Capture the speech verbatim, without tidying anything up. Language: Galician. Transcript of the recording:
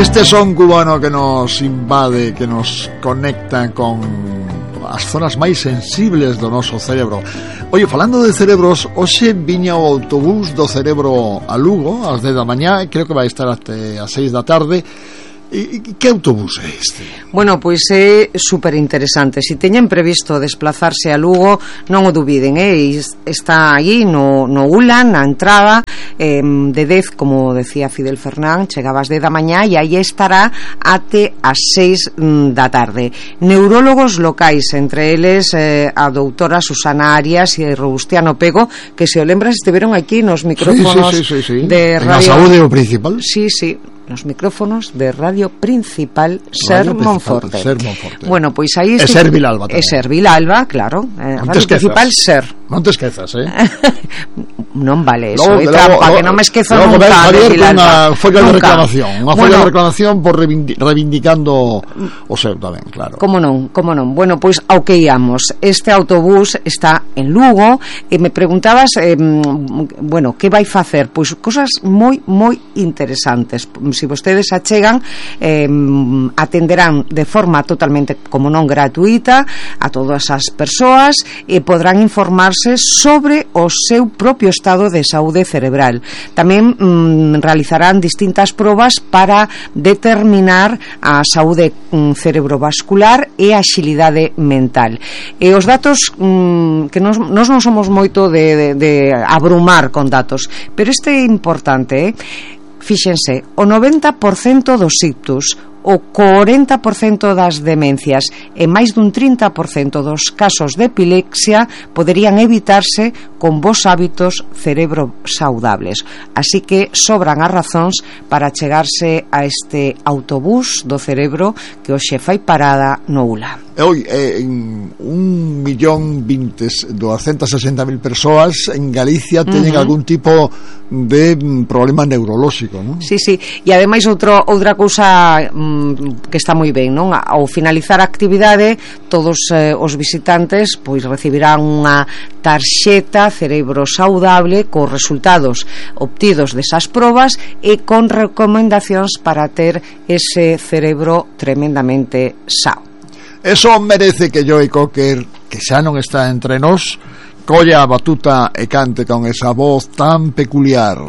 Este son cubano que nos invade, que nos conecta con as zonas máis sensibles do noso cerebro. Oye, falando de cerebros, hoxe viña o autobús do cerebro a Lugo ás dez da mañá, creo que vai estar até as seis da tarde. E que autobús é este? Bueno, pois é super interesante. Se teñen previsto desplazarse a Lugo, non o dubiden, eh? Está aí no, no U L A, na entrada, eh, de dez, como decía Fidel Fernán, chegaba ás dez da mañá e aí estará até as seis da tarde. Neurólogos locais, entre eles eh, a doutora Susana Arias e Robustiano Pego, que se o lembras estiveron aquí nos micrófonos sí, sí, sí, sí, sí. de Radio... En a saúde o principal? Sí, sí, nos micrófonos de Radio Principal Ser Monforte. Ser Monforte. Bueno, pois aí é Ser Vilalba tamén. É Ser Vilalba, claro. Eh, Radio Principal Ser. Non te esquezas, eh? Non vale eso, logo, é trampa, logo, que non me esquezo logo nunca Javier, de Vilalba. Unha folla de reclamación, unha folla bueno, de reclamación por reivindi reivindicando o seu tamén, claro. Como non, como non. Bueno, pois ao que íamos. Este autobús está en Lugo e me preguntabas, eh, bueno, que vai facer? Pois cosas moi, moi interesantes. Se vostedes achegan, eh, atenderán de forma totalmente, como non gratuita, a todas as persoas e podrán informarse sobre o seu propio estado de saúde cerebral. Tamén mm, realizarán distintas probas para determinar a saúde mm, cerebrovascular e a axilidade mental. E os datos mm, que nos, nos non somos moito de, de, de abrumar con datos, pero este é importante, eh? Fíxense, o noventa por cento dos ictus, o cuarenta por cento das demencias e máis dun trinta por cento dos casos de epilepsia poderían evitarse con bons hábitos cerebro saudables. Así que sobran as razóns para chegarse a este autobús do cerebro que hoxe fai parada no U L A. Hoy, eh, en un millón vinte, doscientas sesenta mil persoas en Galicia teñen uh-huh. algún tipo de problema neurolóxico, non? Sí, sí, e ademais outro, outra cousa mm, que está moi ben, non? Ao finalizar a actividade, todos eh, os visitantes pois recibirán unha tarxeta cerebro saudable cos resultados obtidos desas probas e con recomendacións para ter ese cerebro tremendamente sao. Eso merece que Joey Cocker, que xa non está entre nós, colla a batuta e cante con esa voz tan peculiar.